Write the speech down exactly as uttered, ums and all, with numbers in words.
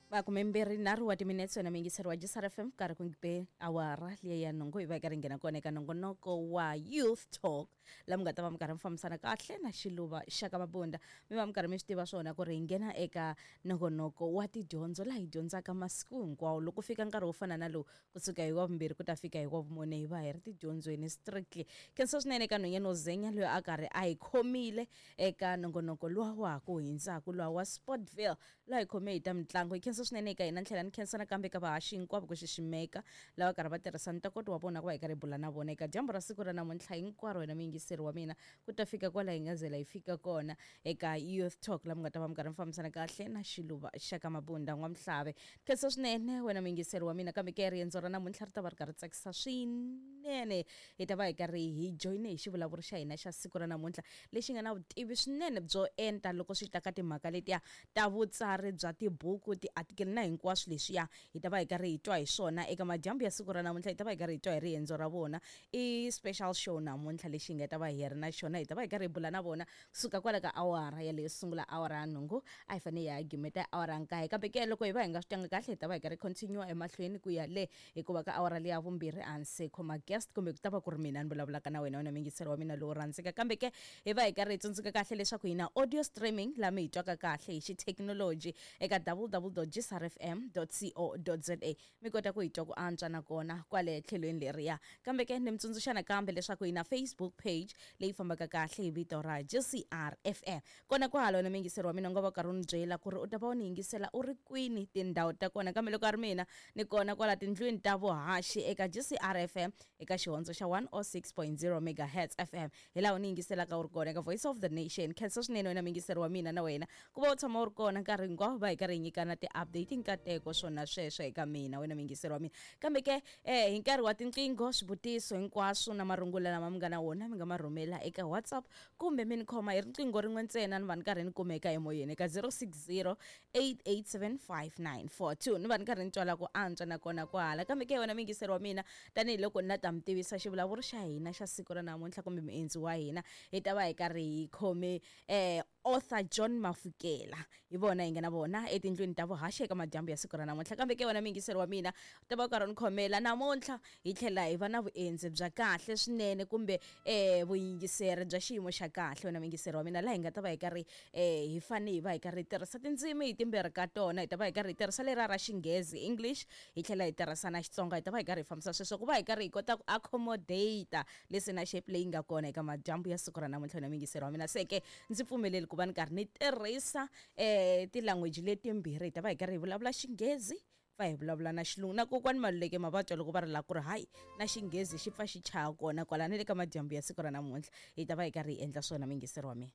Makume mbirhi nharhu wa timinetse wena muyingiseri wa G S R F M karhi ku be awara liya ya nhungu hi va hi karhi nghena kona eka nongonoko wa Youth Talk laha mi nga ta va mi karhi mi fambisana kahle na Xiluva xa ka Mabunda. Mi va mi karhi mi swi tiva swona ku ri hi nghena eka nongonoko wa tidyondzo laha hi dyondzaka masiku hinkwawo. Loko fika nkarhi wo fana na lowu kusuka hi wa vumbirhi ku ta fika hi wa vumune hi va hi ri tidyondzweni strictly. Khensa swinene eka nhwanyana wo Zenya loyi a karhi a hi khomile eka nongonoko luwa wa ha ku hundzaku luwa wa Sportville laha hi khome hi ta mitlangu. Hi khensa swinene eka hina tlhela ni khensa nakambe ka vahaxi hinkwavo ku xiximeka lava karhi va tirhisa ntokoto wa vona ku va hi karhi hi bula na vona eka dyambu ra siku ra namuntlha hinkwaro. Wena muyingiseri wa mina ku ta fika kwala hi nga zela hi fika kona eka Youth Talk laha mi nga ta va mi karhi mi fambisana kahle na Xiluva xa ka Mabunda N'wamhlave. Khensa swinene wena muyingiseri wa mina, kambe ke riendzo ra namuntlha ri ta va ri karhi tsakisa swinene. Hi ta va hi karhi hi joyine hi xivulavuri xa hina xa siku ra namuntlha lexi nga na vutivi swinene byo enta loko swi ta ka timhaka letiya ta vutsari bya tibuku, tiartikele na hinkwaswo leswiya. Hi ta va hi karhi hi twa hi swona eka madyambu ya siku ra namuntlha. Hi ta va hi karhi hi twa hi riendzo ra vona. I special show namuntlha lexi hi nga ta va hi ri na xona. Hi ta va hi karhi hi bula na vona kusuka kwala ka awara yaleyo sungula awara ya nhungu a hi fanele hi ya gimeta awara ya nkaye, kambe ke loko hi va hi nga swi twanga kahle hi ta va hi karhi continue emahlweni ku ya le, hikuva ka awara leya vumbirhi a ndzi se khoma guest kumbe ku ta va ku ri mina ni vulavulaka na wena wena muyingiseri wa mina lowu rhandzeka. Kambe ke hi va hi karhi hi tsundzuka kahle leswaku hi na audio streaming laha mi hi twaka kahle hi xithekinoloji eka w w w dot g s r f m dot co dot z a mi kota ku hi twa ku antswa nakona kwale tlhelweni leriya. Kambe ke ni mi tsundzuxa nakambe leswaku hi na Facebook page leyi fambaka kahle hi vito ra G C R F M. Kona kwala wena muyingiseri wa mina u nga va karhi u ni byela ku ri u ta va u ni yingisela u ri kwini tindhawu ta kona, kambe loko a ri mina ni kona kwala tindlwini ta vuhaxi eka G C R F M eka xihondzo xa one oh six point zero megahertz F M hi laha u ni yingiselaka u ri kona eka Voice of the Nation. Khensa swinene wena muyingiseri wa mina na wena ku va u tshama u ri kona nkarhi hinkwawo va hi karhi hi nyikana ti-update nkateko swona sweswo eka mina wena muyingiseri wa mina. Kambe ke eh hi nkarhi wa tinqingho swivutiso hinkwaswo na marungula lama mi nga na wona mi nga ma rhumela eka WhatsApp kumbe mi ni khoma hi riqingho rin'we ntsena ni va ni karhi ni kumeka emoyeni eka zero six zero eight eight seven five nine four two ni va ni karhi ni twala ku antswa nakona kwahala. Kambe ke wena muyingiseri wa mina tanihiloko ni la ta mi tivisa xivulavuri xa hina xa siku ra namuntlha kumbe muendzi wa hina hi ta va hi karhi hi khome eh author John Mafukela hi vona hi nga na vona etindlwini ta vuhaxi eka madyambu ya siku ra namuntlha. Kambe ke wena muyingiseri wa mina u ta va u karhi u ni khomela namuntlha hi tlhela hi va na vuendzi bya kahle swinene kumbe eh vuyingiseri bya xiyimo xa kahle wena muyingiseri wa mina laha hi nga ta va hi karhi eh hi fanele hi va hi karhi hi tirhisa tindzimi hi timbirhi ka tona. Hi ta va hi karhi hi tirhisa lera ra Xinghezi English hi tlhela hi tirhisa na Xitsonga. Hi ta va hi karhi hi fambisa sweswo ku va hi karhi hi kota ku accommodate listenership leyi nga kona eka madyambu ya siku ra namuntlha wena muyingiseri wa mina. Se ke ndzi pfumeleli ku va ni karhi ni tirhisa eh ti-language letimbirhi. Hi ta va hi karhi hi vulavula Xinghezi pfa hi vulavula na Xilungu na kokwani Maluleke ma va twa loko va ri la ku ri hayi na Xinghezi xi pfa xi chaya kona kwala ni le ka madyambu ya siku ra namuntlha hi ta va hi karhi hi endla swona muyingiseri wa mina.